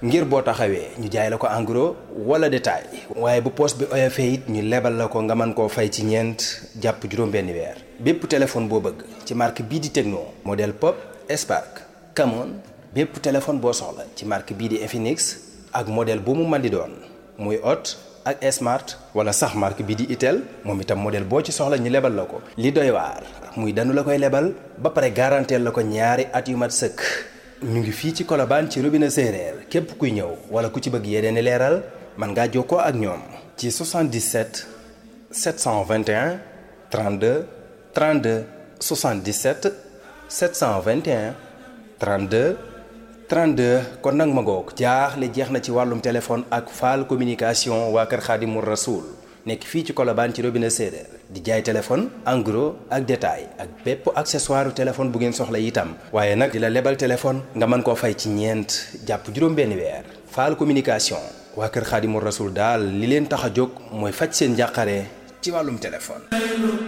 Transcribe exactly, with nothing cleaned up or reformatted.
ngir boo taxawee ñu jaay la ko en gros wala détail waaye bu poste bi oyofee it ñu lebal la ko nga mën koo fay ci ñeent jàpp juróom-benn weer bépp téléphone boo bëgg ci marque bii di Tecno modèle Pop Spark Camon bépp téléphone boo soxla ci marque bii di Infinix ak modèle bu mu mën di doon muy Hot ak Smart wala sax marque bii di Itel moom itam modèle boo ci soxla ñu lebal la ko li doy waar muy danu la koy lebal ba pare garanteel la ko ñaari at yu mat sëkk ñu ngi fii ci Colobane ci robinet séeréer képp kuy ñëw wala ku ci bëgg yeneen i leeral mën ngaa jokkoo ak ñoom ci soixante-dix-sept sept cent vingt et un trente-deux trente-deux soixante-dix-sept sept cent vingt et un trente-deux trente-deux kon nag ma ngoog jaaxle jeex na ci wàllum téléphone ak Fall communication waa kër Xaadimu Rasuul nekk fii ci Colobane ci robinet séeréer di jaay téléphone en gros ak détail ak bépp accessoire téléphone bu ngeen soxla itam waaye nag di la lebal téléphone nga mën koo fay ci ñeent jàpp juróom-benni weer Fall communication waa kër Xaadimu Rasuul daal li leen tax a jóg mooy faj seen njàqare ci wàllum téléphone